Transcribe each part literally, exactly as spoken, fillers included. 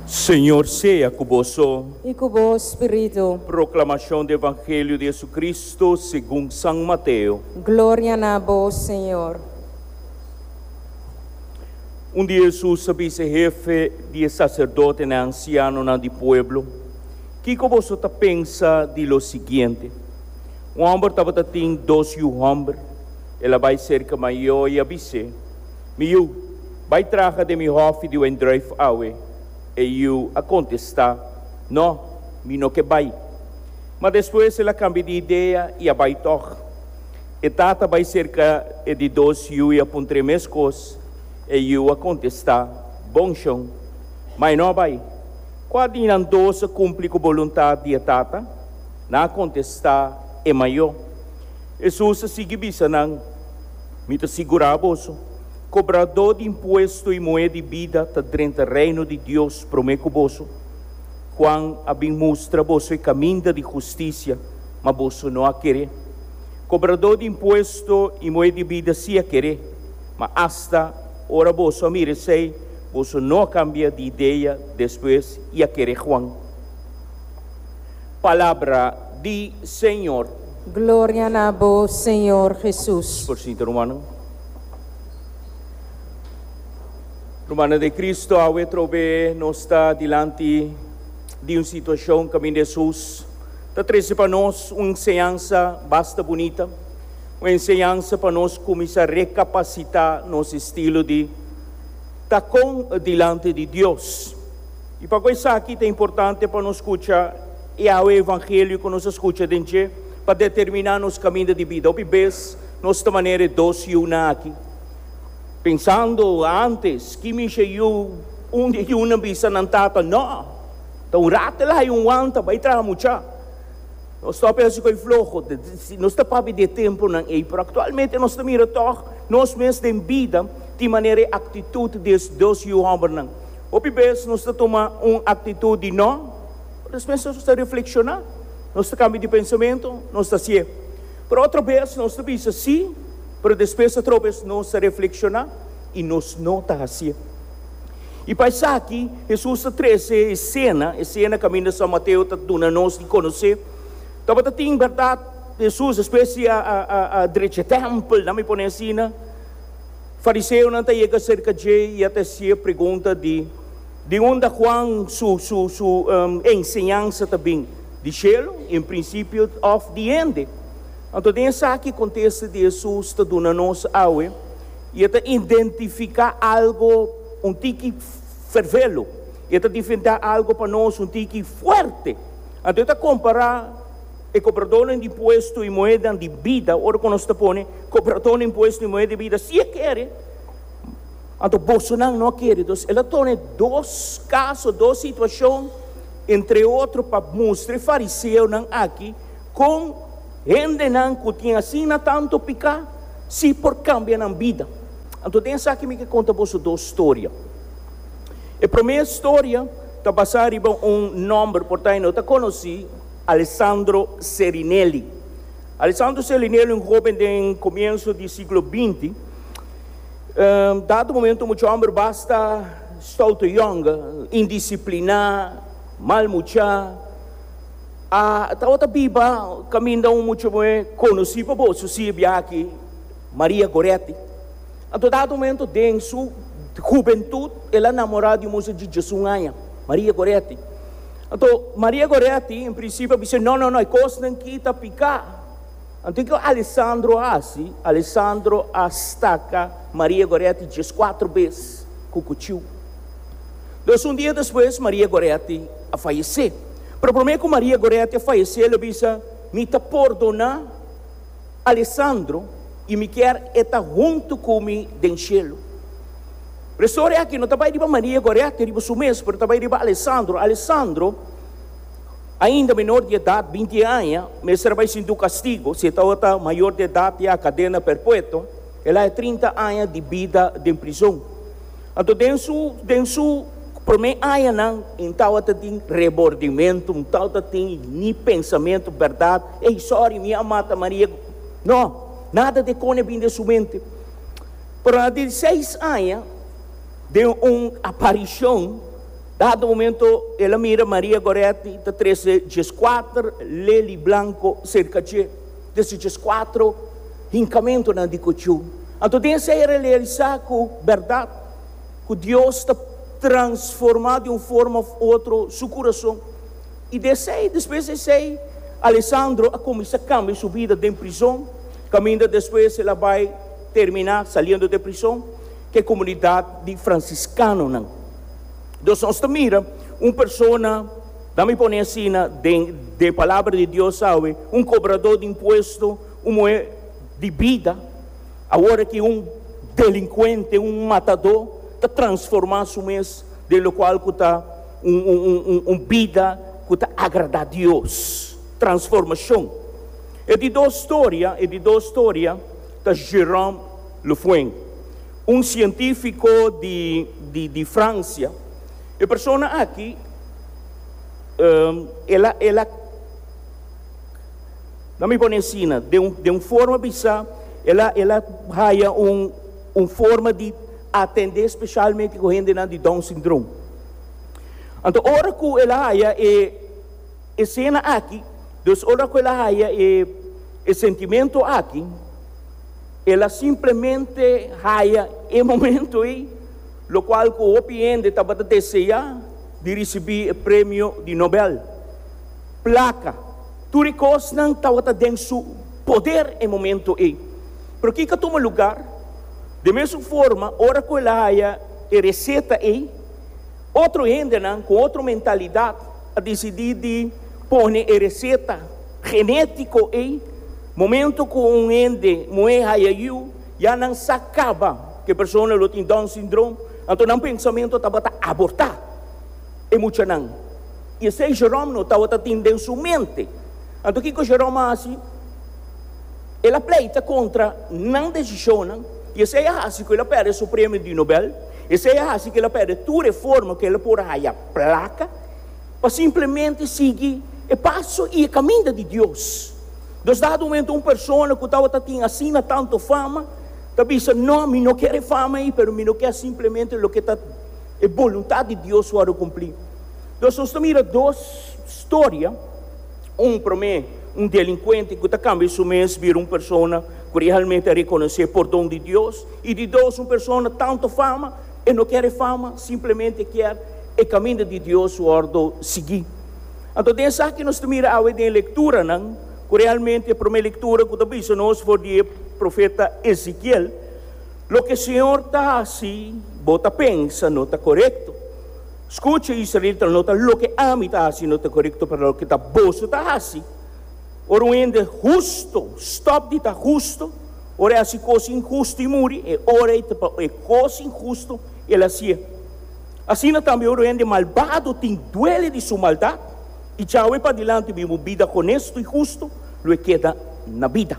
Señor sea ku boso. I ku bo spiritu. Proklamashon di Evangelio di Jesucristo segun San Mateo. Gloria na bo, Señor. Un dia Hesus a bisa e hefe di e saserdotenan i ansianonan di pueblo: "Kiko boso ta pensa di lo siguiente? Un hòmber tabatin dos yu hòmber. El a bai serka mayó i a bis'é: 'Mi yu, bai traha den mi hòfi di wendrùif awe.' E yu a kontestá: 'No, mi no ke bai.' Ma despues el a kambia di idea i a bai tòg. E tata a bai serka e di dos yu i a puntr'é meskos. E yu a kontestá: 'Bon, shon.' Ma e no a bai. Kua di nan dos a kumpli ku boluntat di e tata? Nan a kontestá: 'E mayó.' Hesus a sigui bisa nan: 'Mi ta sigurá boso, kobradó di impuesto i muhé di bida ta drenta reino di Dios promé ku boso. Juan a bin mustra boso e kaminda di hustisia, ma boso no a kere. Kobradó di impuesto i muhé di bida sí a kere, ma asta ora boso a mira esei, boso no a kambia di idea despues i a kere Juan." Palabra di Señor. Gloria na bo, Señor Jesus. Por sinta, rumannan. Rumannan den Cristo, awe trobe nos ta dilanti di un situashon kaminda Hesus ta trese pa nos un enseñansa basta bunita, un enseñansa pa nos kuminsá rekapasitá nos estilo di ta kon dilanti di Dios. I pakiko esaki ta importante pa nos skucha e awe evangelio ku nos a skucha den dje pa determiná nos kaminda di bida? Hopi bes nos ta manera e dos yunan aki. Pensando antes, ki misha yu, un di e yunan bisa nan tata: "No, ta un rato el a haya un wanta, bai traha mucha. No stop hasi koi floho." Nos ta papia di e tempunan ei, pero aktualmente nos ta mira tòg nos mes den bida tin manera e aktitut di e dos yu hòmbernan. Hopi bes nos ta tuma un aktitut di no, pero despues nos ta reflekshoná, nos ta kambia di pensamentu, nos ta hasié. Pero otro bes nos ta bisa sí, pero despues otro bes nos ta reflekshoná i nos no ta hasié. I pa esaki Hesus ta trese e esena, e esena kaminda San Mateo ta duna nos di konosé. Tabata tin bèrdat Hesus despues di a a a drecha e tèmpel, nan mi pone asina, fariseonan ta yega serka dje i a ta hasié pregunta di di unda Juan su su su enseñansa ta bin, di shelu en prinsipio òf di hende? Anto den esaki kontesta di Hesus ta duna nos awe i e ta identifiká algo un tiki fervelo, i e ta difendá algo pa nos un tiki fuerte. Anto e ta kompará e kobradónan di impuesto i muhénan di bida. Ora ku nos ta pone kobradónan di impuesto i muhé di bida, si e kere, anto bosonan no a kere. Dus el a tone dos kaso, dos situashon, entre otro pa mustra e fariseonan aki kon hendenan ku tin asina tantu piká si por kambia nan bida. Anto den esaki mi ke konta boso dos storia. E promé storia ta basá riba un nòmber por ta e no ta konosí, Alessandro Serinelli. Alessandro Serinelli, un hóben den komienso di siglo binti, dado momento mucha hòmber basta stouto yòn, indisipliná, mal mucha, a tabata biba kaminda un mucha muhé konosí pa boso si e biaha aki, Maria Goretti. Anto dado momento den su hubentut el a namorá di un musa di diesun aña, Maria Goretti. Anto Maria Goretti en prinsipio a bisa: "No, no, no, e kosnan ki ta piká." Anto kiko Alessandro a hasi? Alessandro a staka Maria Goretti dieskuater bes ku kuchiu. Dus un dia despues Maria Goretti a fayesé. Pero promé ku Maria Goretti a fayesé el a bisa: "Mi ta pordoná Alessandro i mi kier e ta huntu ku mi den shelu." Pero e storia aki no ta bai riba Maria Goretti riba su mes, pero ta bai riba Alessandro. Alessandro, ainda menor di edat, binti aña, mester a bai sinti un kastigo. Si e tabata mayor di edat ya kadena perpetuo, el a haña trinta aña di bida den prizon. Anto den su den su promé añanan e tabata tin rebordimentu, no tabata tin ni pensamentu bèrdat: "Ey, sorry, mi a mata Maria." No, nada de kone bin den su mente. Pero na di seis aña, Den un aparishon, dado momento, el a mira Maria Goretti, ta trese dieskuater leli blanku serka dje. Dese dieskuater hinkamentunan di kuchú. Anto den esei el a realisá ku bèrdat, ku Dios ta transformá di un forma òf otro su kurason. I den esei, despues di esei, Alessandro a kuminsá kambia su bida den prizon, kaminda despues el a bai terminá saliendo di prizon ku e komunidat di fransiskanonan. Dus nos ta mira un persona, da mi pone asina, den den Palabra di Dios awe, un kobradó di impuesto, un muhé di bida, awor aki un delinkuente, un matadó, ta transformá su mes den lokual ku ta un un un un bida ku ta agradá Dios. Transformashon. E di dos storia, e di dos storia ta Jérôme Lefoing, un sientífiko di di di Fransia. E persona aki, el a el a na mi pone asina, den un den un forma bisa, el a el a haya un un forma di atendé spesialmente ku hendenan di Down syndroom. Anto ora ku el a haya e esena aki, dus ora ku el a haya e e sentimentu aki, el a simplemente haya e momento ei, lokual ku hopi hende tabata deseá di risibí e premio di Nobel. Plaka, tur e kosnan tabata den su poder e momento ei. Pero kiko a tuma lugar? Den mesun forma, ora ku el a haya e reseta ei, otro hendenan ku otro mentalidat a disidí di pone e reseta genétiko ei. Momento ku un hende muhé haya yu, ya nan sa kaba ku e persona lo tin Down syndroom, anto nan pensamentu tabata abortá e muchanan. I esei Jerome no tabata tin den su mente. Anto kiko Jerome a hasi? El a pleita kontra nan desishonnan, i esei a hasi ku el a pèrdè su premio di Nobel, esei a hasi ku el a pèrdè tur e forma ku el a por a haya plaka pa simplemente sigui e paso i e kaminda di Dios. Dos dado momento un persona ku tabata tin asina tantu fama ta bisa, No, mi no kier e fama ei, pero mi no kier simplemente loke ta e boluntat di Dios wòrdu kumplí. Dos nos ta mira dos storia, un promé un delinkuente ku ta kambia su mes bira un persona ku realmente a rekonosé pordon di Dios, i di dos un persona tantu fama, e no kier e fama, simplemente kier e kaminda di Dios wòrdu sigui. Anto den esaki nos ta mira awe den e lekturanan, ku realmente e promé lektura ku ta bisa nos for di e profeta Ezekiel, Loke Señor ta hasi, bo ta pensa no ta korekto. Skucha, israelitanan, no ta loke ami ta hasi no ta korekto, pero loke ta boso ta hasi. Ora un hende husto stòp di ta husto, ora e hasi kos inhusto i muri, e ora ei ta pa e kos inhusto el hasié. Asina tambe ora un hende malbado tin duele di su maldat i djawe padilanti biba un bida honesto i husto, lo e keda na bida.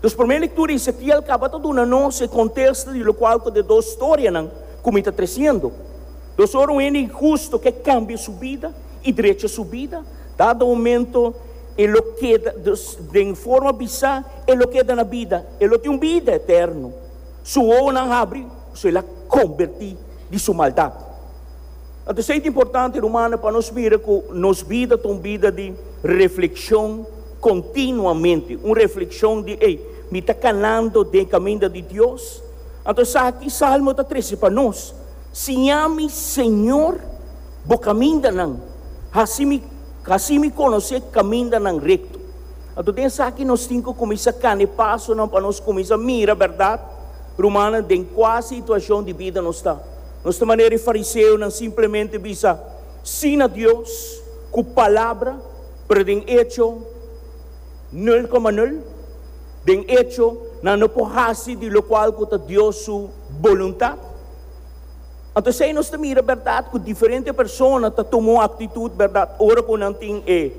Dus promé lektura Ezekiel kaba ta duna nos e kontesta di lokual ku de dos storianan ku mi ta tresiendo. Dus ora un hende inhusto ke kambia su bida i drecha su bida, dado momento e lo keda, dus den forma bisá, e lo keda na bida, e lo tin un bida eterno. Su wowonan habri, so el a kombertí di su maldat. Anto esei ta importante, rumannan, pa nos mira ku nos bida ta un bida di reflekshon kontinuamente, un reflekshon di, Ey, mi ta kanando den kaminda di Dios? Anto esaki Salmo ta trese pa nos, Siña mi, Señor, bo kamindanan, hasi mi hasi mi konosé kamindanan rekto. Anto den esaki nos tin ku kuminsá kana e pasonan pa nos kuminsá mira bèrdat, rumannan, den kua situashon di bida nos ta. Nos ta manera e fariseonan simplemente bisa sí na Dios ku palabra, pero den echo nul koma nul. Den echo nan no por hasi di lokual ku ta Dios su boluntat. Anto esei nos ta mira bèrdat ku diferente persona ta tuma un aktitut bèrdat ora ku nan tin e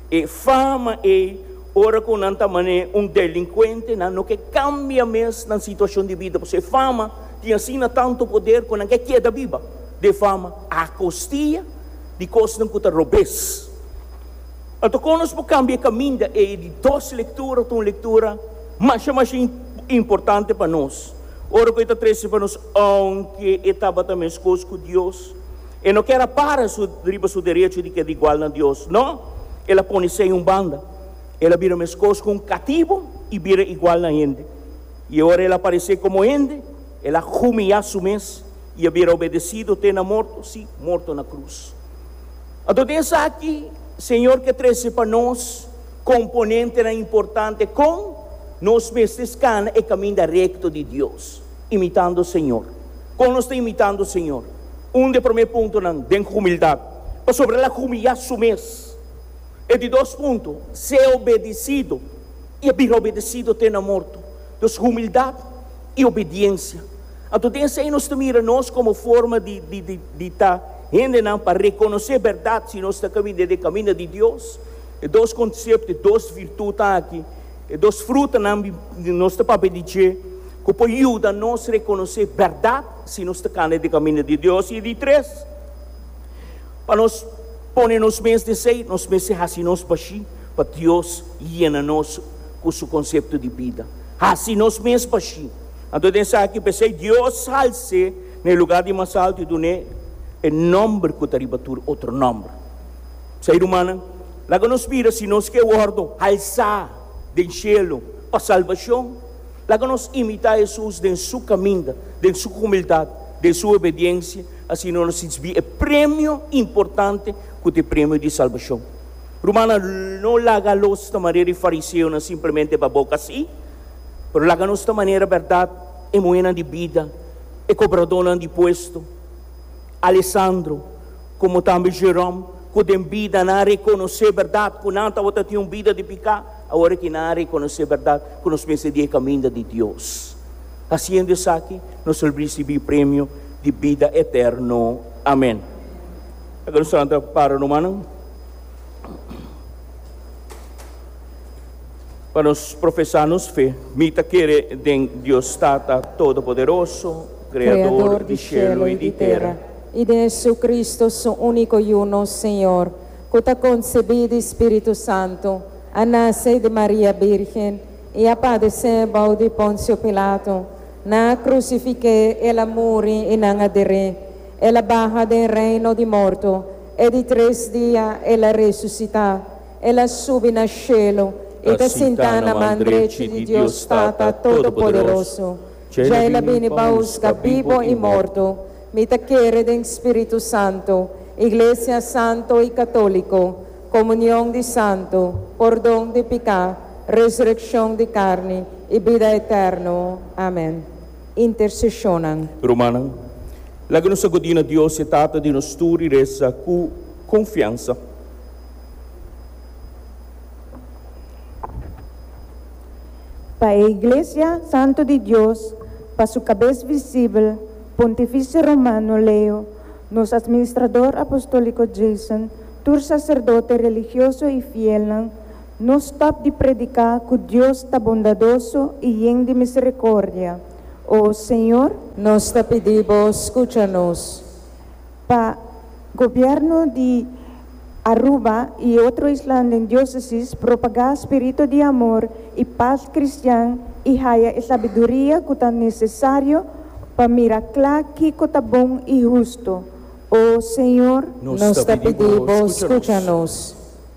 e fama ei, ora ku nan ta manera un delinkuente, nan no ke kambia mes nan situashon di bida pasobra e fama tin asina tantu poder ku nan ke keda biba den fama a kostia di kosnan ku ta robes. Anto kon nos por kambia e kaminda ei di dos lektura ta un lektura masha masha importante pa nos. Ora ku e ta trese pa nos, aunke e tabata meskos ku Dios, e no ker a para su, riba su derecho di keda igual na Dios. No, el a pone esei un banda. El a bira meskos ku un katibu i bira igual na hende. I ora el a aparesé komo hende, el a humiliá su mes i a bira obedesido te na morto, sí, morto na krus. Anto den esaki, Señor ke trese pa nos komponentenan importante kon nos mester kana e kaminda rekto di Dios, imitando Señor. Kon nos ta imitando Señor? Un di e promé puntonan, den humildat, pasobra el a humiliá su mes. E di dos punto, sea obedesido i a bira obedesido te na morto. Dus humildat i obediensia. Anto den esei nos ta mira nos komo forma di di di di ta hendenan pa rekonosé bèrdat si nos ta kaminda den e kaminda di Dios. E dos konsepto, e dos virtutnan aki, e dos frutanan nos ta papia di dje ku por yuda nos rekonosé bèrdat si nos ta kana den e kaminda di Dios. I di tres, pa nos pone nos mes den esei, nos mester hasi nos bashí pa Dios yena nos ku su konsepto di bida. Hasi nos mes bashí. Anto den esaki p'esei Dios hals'é na e lugá di mas altu i dun'é e nòmber ku ta riba tur otro nòmber. P'esei, rumannan, laga nos mira si nos ke wòrdu halsá den shelu pa salbashon. Laga nos imitá Hesus den su kaminda, den su humildat, den su obediensia, asina nos risibí e premio importante ku ta e premio di salbashon. Rumannan, no laga los ta manera e fariseonan simplemente pa boka sí, pero laga nos ta manera bèrdat e muhénan di bida, e kobradónan di puesto, Alessandro, komo tambe Jerome, ku den bida nan a rekonosé bèrdat ku nan tabata tin un bida di piká, awor aki nan a rekonosé bèrdat ku nos mester di e kaminda di Dios. Hasiendo esaki, nos lo risibí premio di bida eterno. Amèn. Laga nos lanta para rumannan pa nos profesá nos fe. Mi ta kere den Dios Tata Todopoderoso, Kreador di shelu i di tera. I den Jesucristo, su úniko Yu, nos Señor, ku ta konsebí di Spiritu Santu, a nase di Maria Bírgen, i a padesé bou di Ponsio Pilato, nan a krusifik'é, el a muri i nan a der'é. El a baha den reino di morto, e di tres dia el a resusitá. El a subi na shelu i ta sintá na man drechi di Dios Tata Todopoderoso. Dja el a bini pa husga bibo i morto. Mi ta kere den Spiritu Santu, Iglesia Santu i Katóliko, komunion di santu, pordon di piká, resurekshon di karni i bida eterno. Amèn. Interseshonnan. Rumannan, laga nos akudí na Dios, e Tata di nos tur, i resa ku konfiansa. Pa e Iglesia Santu di Dios, pa su kabes visibel, Pontifice Romano Leo, nos Administrador Apostóliko Jason, tur saserdote religioso i fielnan, no stòp di prediká ku Dios ta bondadoso i yen di miserikordia. O Señor. Nos ta pidi Bo, skucha nos. Pa Gobièrnu di Aruba i otro islan den diósesis propagá spiritu di amor i pas kristian i haya e sabiduria ku ta nesesario pa mira kla kiko ta bon i hustu. O Señor. Nos ta pidi Bo, skucha nos.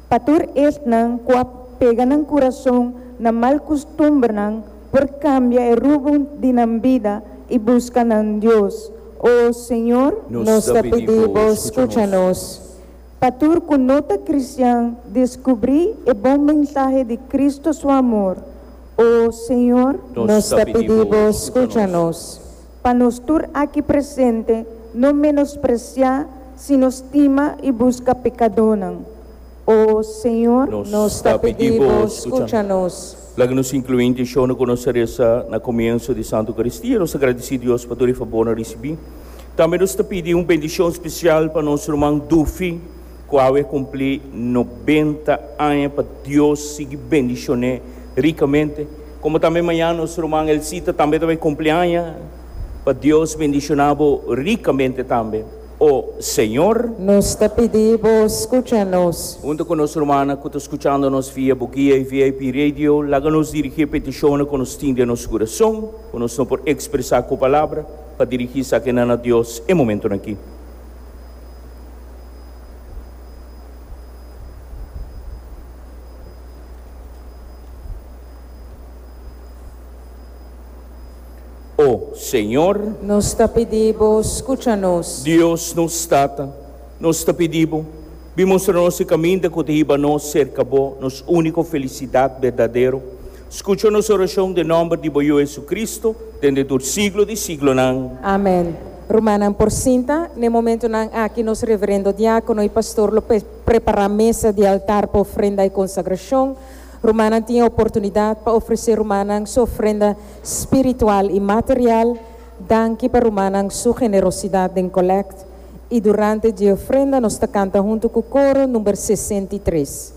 Pa tur esnan ku a pega nan kurason na mal kustumbernan por kambia e rumbo di nan bida i buska nan Dios. O Señor. Nos ta pidi Bo, skucha nos. Pa tur ku no ta kristian deskubrí e bon mensahe di Kristu su amor. O Señor. Nos ta pidi Bo, skucha nos. Pa nos tur aki presente no menospresiá sino stima i buska pekadónan. O Señor. Nos ta pidi Bo, skucha nos. Laga nos inkluí intenshonan ku nos a resa na komienso di Santu Eukaristia. Nos ta gradisí Dios pa tur e fabornan risibí. Tambe nos ta pidi un bendishon spesial pa nos ruman Dufi, ku awe a kumplí nobenta aña, pa Dios sigui bendishon'é rikamente. Komo tambe mañana nos ruman Elsita tambe ta bai kumpli aña, pa Dios bendishoná bo rikamente tambe. O Señor, Nos ta pidi Bo, skucha nos. Huntu ku nos rumannan ku ta skuchando nos via Boguia i V I P Radio, laga nos dirigí petishon ku nos tin den nos kurason, ku nos no por ekspresá ku palabra, pa dirigí esaki na Dios e momento aki. O Señor, Nos ta pidi Bo, skucha nos. Dios nos Tata, nos ta pidi Bo, bin mustra nos e kaminda ku ta hiba nos serka Bo, nos úniko felisidat berdadero. Skucha nos orashon den nòmber di Bo Jesu-Cristo, den tur siglo di siglonan. Amèn. Rumannan, por sinta, na e momentonan aki nos reverendo diákono i pastor lo pe- prepará mesa di altar pa ofrenda i konsagrashon. Rumannan tin oportunidat pa ofresé rumannan su ofrenda spiritual i material. Danki pa rumannan su generosidat den kolekte. I durante e ofrenda nos ta kanta huntu ku koro number sesenta i tres.